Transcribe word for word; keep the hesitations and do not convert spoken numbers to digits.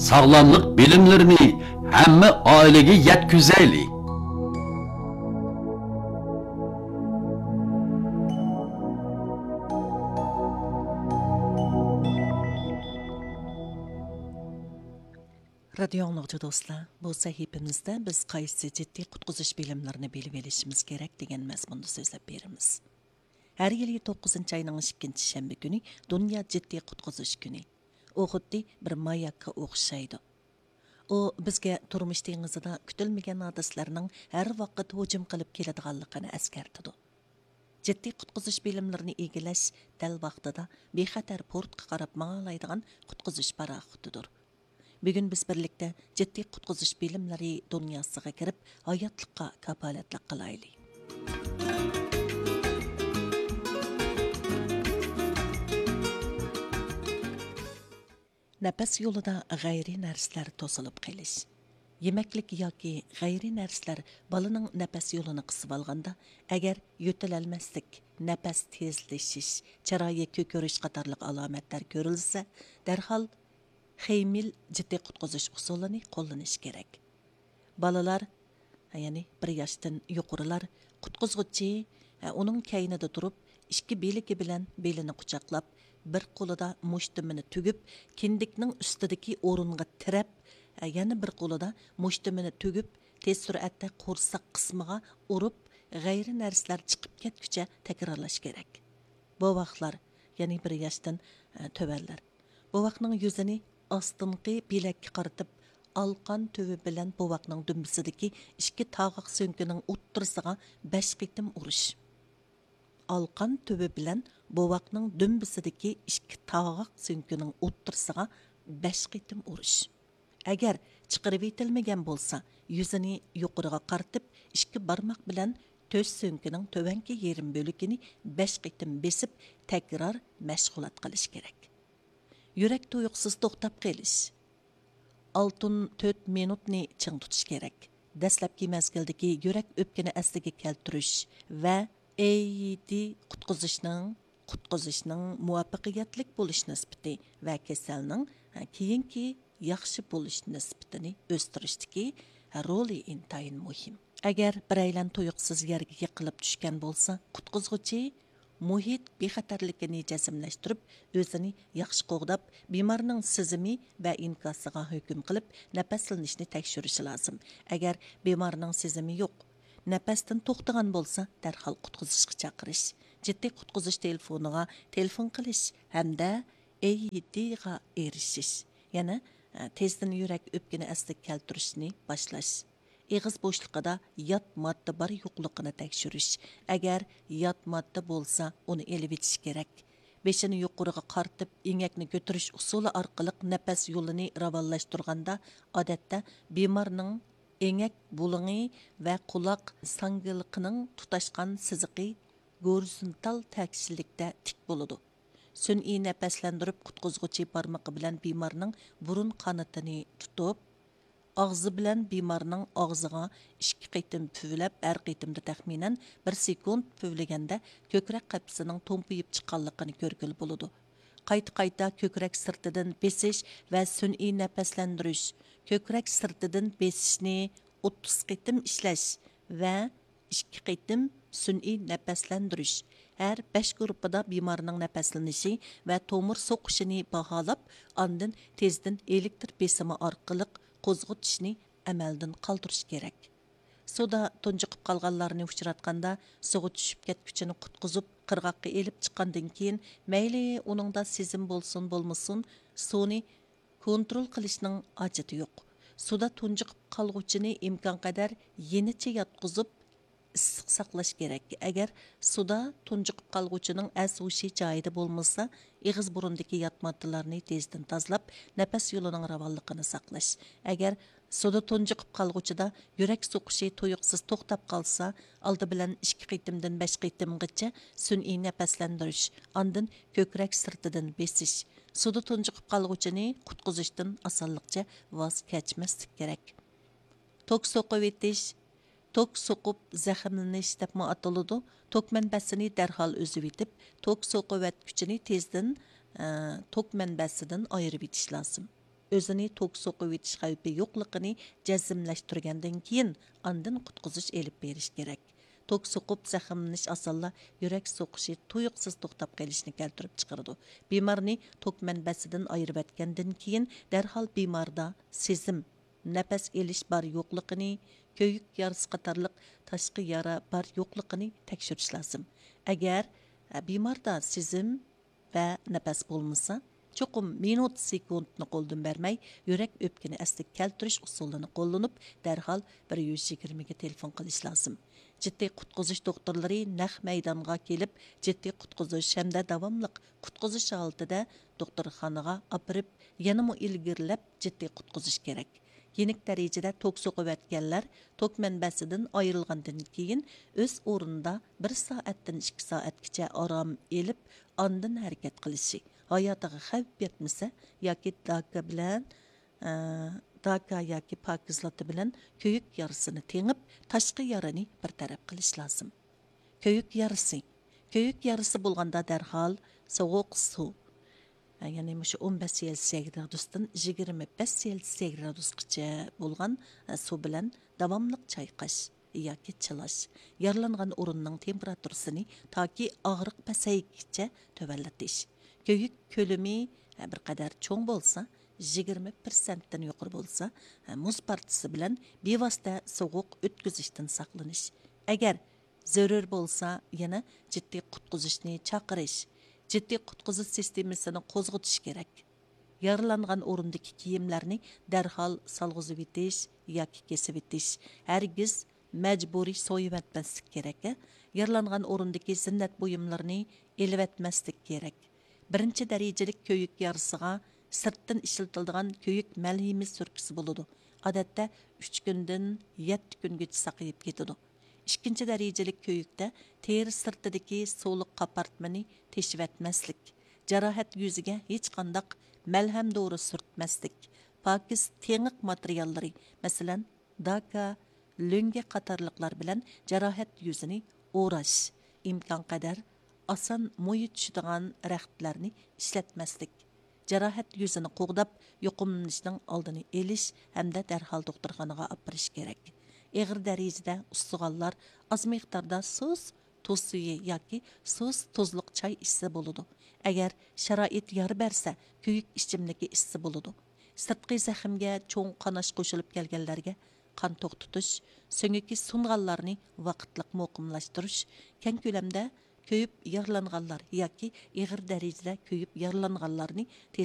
ساغلاملىق بىلىملىرىنى ھەممە ئائىلىگە يەتكۈزەيلى! رادىيو ئاڭلىغۇچى دوستلار، بۇ سەھىپىمىزدە بىز قايسى جىددىي قۇتقۇزۇش بىلىملىرىنى بىلىۋېلىشىمىز كېرەك دېگەن مەزمۇندا سۆزلەپ بېرىمىز. ھەر يىلى توققۇزىنچى ئاينىڭ ئىككىنچى شەنبە كۈنى دۇنيا جىددىي قۇتقۇزۇش كۈنى. ئۇ خۇددى بىر ماياكقا ئوخشايدۇ. ئۇ بىزگە تۇرمۇش دېڭىزىدا كۈتۈلمىگەن ھادىسىلەرنىڭ ھەر ۋاقىت ھۇجۇم قىلىپ كېلىدىغانلىقىنى ئەسكەرتىدۇ. جىددىي قۇتقۇزۇش بىلىملىرىنى ئىگىلەش دەل ۋاقتىدا بىخەتەر پورتقا قاراپ ماڭالايدىغان قۇتقۇزۇش پاراخوتىدۇر. بۈگۈن بىز بىرلىكتە جىددىي قۇتقۇزۇش بىلىملىرى دۇنياسىغا كىرىپ، ھاياتلىققا كاپالەتلىك قىلايلى. نەپەس يولىدا غەيرىي نەرسىلەر توسۇلۇپ قېلىش. يېمەكلىك ياكى غەيرىي نەرسىلەر بالىنىڭ نەپەس يولىنى قىسىۋالغاندا، ئەگەر يۆتىلەلمەسلىك، نەپەس تېزلىشىش، چىرايى كۆكىرىش قاتارلىق ئالامەتلەر كۆرۈلسە، دەرھال خېيمىل جىددىي قۇتقۇزۇش ئۇسۇلىنى قوللىنىش كېرەك. بالىلار، يەنى بىر ياشتىن يۇقىرىلار، قۇتقۇزغۇچى، ئۇنىڭ كەينىدە تۇرۇپ، ئىككى بىلىكى بىلەن بېلىنى قۇچاقلاپ، بىر قولىدا مۇشتۇمىنى تۈگۈپ، كىندىكنىڭ ئۈستىدىكى ئورۇنغا تىرەپ، يەنە بىر قولىدا مۇشتۇمىنى تۈگۈپ، تېز سۈرئەتتە قورساق قىسمىغا ئۇرۇپ، غەيرىي نەرسىلەر چىقىپ كەتكۈچە تەكرارلاش كېرەك. بوۋاقلار، يەنى بىر ياشتىن، ئە، تۆۋەنلەر. بوۋاقنىڭ يۈزىنى ئاستىنقى بىلەككە قارىتىپ، ئالقان تۈۋى بىلەن بوۋاقنىڭ دۈمبىسىدىكى ئىككى تاغاق سۆڭىكىنىڭ ئوتتۇرىسىغا بەش قېتىم ئۇرۇش. ئالقان تۈۋى بىلەن بوۋاقنىڭ دۈمبىسىدىكى ئىككى تاغاق سۆڭىكىنىڭ ئوتتۇرىسىغا بەش قېتىم ئۇرۇش. ئەگەر چىقىرىۋېتىلمىگەن بولسا، يۈزىنى يۇقىرىغا قارىتىپ، ئىككى بارماق بىلەن تۆش سۆڭىكىنىڭ تۆۋەنكى يېرىم بۆلىكىنى بەش قېتىم بېسىپ، تەكرار مەشغۇلات قىلىش كېرەك. يۈرەك تۇيۇقسىز توختاپ قېلىش. ئالتۇن تۆت مىنۇتنى چىڭ تۇتۇش كېرەك. دەسلەپكى مەزگىلدىكى يۈرەك ئۆپكىنى ئەسلىگە كەلتۈرۈش ۋە ئېيدى قۇتقۇزۇشنىڭ، قۇتقۇزۇشنىڭ مۇۋەپپەقىيەتلىك بولۇش نىسبىتى ۋە كېسەلنىڭ، ھە، كېيىنكى ياخشى بولۇش نىسبىتىنى ئۆستۈرۈشتىكى، ھە، رولى ئىنتايىن مۇھىم. ئەگەر بىرەيلەن تۇيۇقسىز يەرگە يىقىلىپ چۈشكەن بولسا، قۇتقۇزغۇچى مۇھىت بىخەتەرلىكىنى جەزملەشتۈرۈپ، ئۆزىنى ياخشى قوغداپ، بىمارنىڭ سېزىمى ۋە ئىنكاسىغا ھۆكۈم قىلىپ، نەپەسلىنىشنى تەكشۈرۈشى لازىم. ئەگەر بىمارنىڭ سېزىمى يوق، نەپەستىن توختىغان بولسا، دەرھال قۇتقۇزۇشقا چاقىرىش، جىددىي قۇتقۇزۇش تېلېفونىغا تېلېفون قىلىش ھەمدە ئېيدىغا ئېرىشىش. يەنە، ئە، تېزدىن يۈرەك ئۆپكىنى ئەسلىگە كەلتۈرۈشنى باشلاش. ئېغىز بوشلۇقىدا يات ماددا بار يوقلۇقىنى تەكشۈرۈش. ئەگەر يات ماددا بولسا، ئۇنى ئېلىۋېتىش كېرەك. بېشىنى يۇقىرىغا قارىتىپ، ئېڭەكنى كۆتۈرۈش ئۇسۇلى ئارقىلىق نەپەس يولىنى راۋانلاشتۇرغاندا، ئادەتتە بىمارنىڭ ئېڭەك بۇلۇڭى ۋە قۇلاق ساڭگىلىقىنىڭ تۇتاشقان سىزىقى گورىزونتال تەكشىلىكتە تىك بولىدۇ. سۈنئىي نەپەسلەندۈرۈپ قۇتقۇزغۇچى بارمىقى بىلەن بىمارنىڭ بۇرۇن قانىتىنى تۇتۇپ، ئاغزى بىلەن بىمارنىڭ ئاغزىغا ئىككى قېتىم پۈۋلەپ، ھەر قېتىمدا تەخمىنەن بىر سېكۇنت پۈۋلىگەندە، كۆكرەك قەپىسىنىڭ تومپىيىپ چىققانلىقىنى كۆرگىلى بولىدۇ. قايتا-قايتا كۆكرەك سىرتىدىن بېسىش ۋە سۈنئىي نەپەسلەندۈرۈش، كۆكرەك سىرتىدىن بېسىشنى ئوتتۇز قېتىم ئىشلەش ۋە ئىككى قېتىم سۈنئىي نەپەسلەندۈرۈش. ھەر بەش گۇرۇپپىدا بىمارنىڭ نەپەسلىنىشى ۋە تومۇر سوقۇشىنى باھالاپ، ئاندىن تېزدىن ئېلېكتر بېسىمى ئارقىلىق قوزغىتىشنى ئەمەلدىن قالدۇرۇش كېرەك. سۇدا تۇنجۇقۇپ قالغانلارنى ئۇچراتقاندا، سۇغا چۈشۈپ كەتكۈچىنى قۇتقۇزۇپ، قىرغاققا ئېلىپ چىققاندىن كېيىن، مەيلى ئۇنىڭدا سېزىم بولسۇن بولمىسۇن، سۇنى كونترول قىلىشنىڭ ھاجىتى يوق. سۇدا تۇنجۇقۇپ قالغۇچىنى ئىمكانقەدەر يېنىچە ياتقۇزۇپ، ئىسسىق ساقلاش كېرەك. ئەگەر سۇدا تۇنجۇقۇپ قالغۇچىنىڭ ئەس ھوشى جايىدا بولمىسا، ئېغىز بۇرۇندىكى يات ماددىلارنى تېزدىن تازىلاپ، نەپەس يولىنىڭ راۋانلىقىنى ساقلاش. ئەگەر سۇدا تۇنجۇقۇپ قالغۇچىدا يۈرەك سوقۇشى تۇيۇقسىز توختاپ قالسا، ئالدى بىلەن ئىككى قېتىمدىن بەش قېتىمغىچە سۈنئىي نەپەسلەندۈرۈش، ئاندىن كۆكرەك سىرتىدىن بېسىش. سۇدا تۇنجۇقۇپ قالغۇچىنى قۇتقۇزۇشتىن ئاسانلىقچە ۋاز كەچمەسلىك كېرەك. توك سوقۇۋېتىش، توك سوقۇپ زەخىملىنىش دەپمۇ ئاتىلىدۇ. توك مەنبەسىنى دەرھال ئۈزۈۋېتىپ، توك سوقۇۋەتكۈچىنى تېزدىن، ئە، توك مەنبەسىدىن ئايرىۋېتىش لازىم. ئۆزىنى توك سوقۇۋېتىش خەۋپى يوقلۇقىنى جەزملەشتۈرگەندىن كېيىن، ئاندىن قۇتقۇزۇش ئېلىپ بېرىش كېرەك. توك سوقۇپ زەخىملىنىش ئاسانلا يۈرەك سوقۇشى تۇيۇقسىز توختاپ قېلىشنى كەلتۈرۈپ چىقىرىدۇ. بىمارنى توك مەنبەسىدىن ئايرىۋەتكەندىن كېيىن، دەرھال بىماردا سېزىم، نەپەس ئېلىش بار يوقلۇقىنى، كۆيۈك يارىسى قاتارلىق تاشقى يارا بار يوقلۇقىنى تەكشۈرۈش لازىم. ئەگەر، ئە، بىماردا سېزىم ۋە نەپەس بولمىسا، چوقۇم مىنۇت، سېكۇنتنى قولدىن بەرمەي، يۈرەك ئۆپكىنى ئەسلىگە كەلتۈرۈش ئۇسۇلىنى قوللىنىپ، دەرھال بىر يۈز يىگىرمىگە تېلېفون قىلىش لازىم. جىددىي قۇتقۇزۇش دوختۇرلىرى نەق مەيدانغا كېلىپ، جىددىي قۇتقۇزۇش ھەمدە داۋاملىق قۇتقۇزۇش ھالىتىدە دوختۇرخانىغا ئاپىرىپ، يەنىمۇ ئىلگىرىلەپ جىددىي قۇتقۇزۇش كېرەك. يېنىك دەرىجىدە توك سوقۇۋەتكەنلەر توك مەنبەسىدىن ئايرىلغاندىن كېيىن، ئۆز ئورنىدا بىر سائەتتىن ئىككى سائەتكىچە ئارام ئېلىپ، ئاندىن ھەرىكەت قىلىشى، ھاياتىغا خەۋپ يەتمىسە ياكى داكا بىلەن، ئە، داكا ياكى پاكىزلاتا بىلەن كۆيۈك يارىسىنى تېڭىپ، تاشقى يارىنى بىر تەرەپ قىلىش لازىم. كۆيۈك يارىسى. كۆيۈك يارىسى بولغاندا دەرھال سوغۇق سۇ، يەنى مۇشۇ ئون بەش سېلسىيە گرادۇستىن يىگىرمە بەش سېلسىيە گرادۇسقىچە بولغان سۇ بىلەن داۋاملىق چايقاش ياكى چىلاش، يارىلانغان ئورۇننىڭ تېمپېراتۇرىسىنى تاكى ئاغرىق پەسەيگىچە تۆۋەنلىتىش. كۆيۈك كۆلىمى بىر قەدەر چوڭ بولسا، يىگىرمە پىرسەنتتىن يۇقىرى بولسا، مۇز پارچىسى بىلەن بىۋاسىتە سوغۇق ئۆتكۈزۈشتىن ساقلىنىش. ئەگەر زۆرۈر بولسا، يەنە جىددىي قۇتقۇزۇشنى چاقىرىش، جىددىي قۇتقۇزۇش سىستېمىسىنى قوزغىتىش كېرەك. يارىلانغان ئورۇندىكى كىيىملەرنى دەرھال سالغۇزۇۋېتىش ياكى كېسىۋېتىش، ھەرگىز مەجبۇرىي سويۇۋەتمەسلىك كېرەك. يارىلانغان ئورۇندىكى زىننەت بۇيۇملىرىنى ئېلىۋەتمەسلىك كېرەك. بىرىنچى دەرىجىلىك كۆيۈك يارىسىغا سىرتتىن ئىشلىتىلىدىغان كۆيۈك مەلھىمى سۈركىسى بولىدۇ. ئادەتتە ئۈچ كۈندىن يەتتە كۈنگىچە ساقىيىپ كېتىدۇ. ئىككىنچى دەرىجىلىك كۆيۈكتە تېرە سىرتىدىكى سۇلۇق قاپارتمىنى تېشىۋەتمەسلىك، جاراھەت يۈزىگە ھېچقانداق مەلھەم دورا سۈرتمەسلىك، پاكىز تېڭىق ماتېرىياللىرى، مەسىلەن، داكا، لۆڭگە قاتارلىقلار بىلەن جاراھەت يۈزىنى ئوراش، ئىمكانقەدەر ئاسان مويى چۈشىدىغان رەختلەرنى ئىشلەتمەسلىك، جاراھەت يۈزىنى قوغداپ، يۇقۇملىنىشنىڭ ئالدىنى ئېلىش ھەمدە دەرھال دوختۇرخانىغا ئاپىرىش كېرەك. ئېغىر دەرىجىدە ئۇسسىغانلار ئاز مىقداردا سۇس، تۇز سۈيى ياكى سۇس، تۇزلۇق چاي ئىچسە بولىدۇ. ئەگەر شارائىت يار بەرسە، كۆيۈك ئىچىملىكى ئىچسە بولىدۇ. سىرتقى زەخىمگە چوڭ قاناش قوشۇلۇپ كەلگەنلەرگە قان توختىتىش، سۆڭىكى سۇنغانلارنى ۋاقىتلىق مۇقىملاشتۇرۇش، كەڭ كۆلەمدە كۆيۈپ يارىلانغانلار ياكى ئېغىر دەرىجىدە كۆيۈپ يارىلانغانلارنى تېز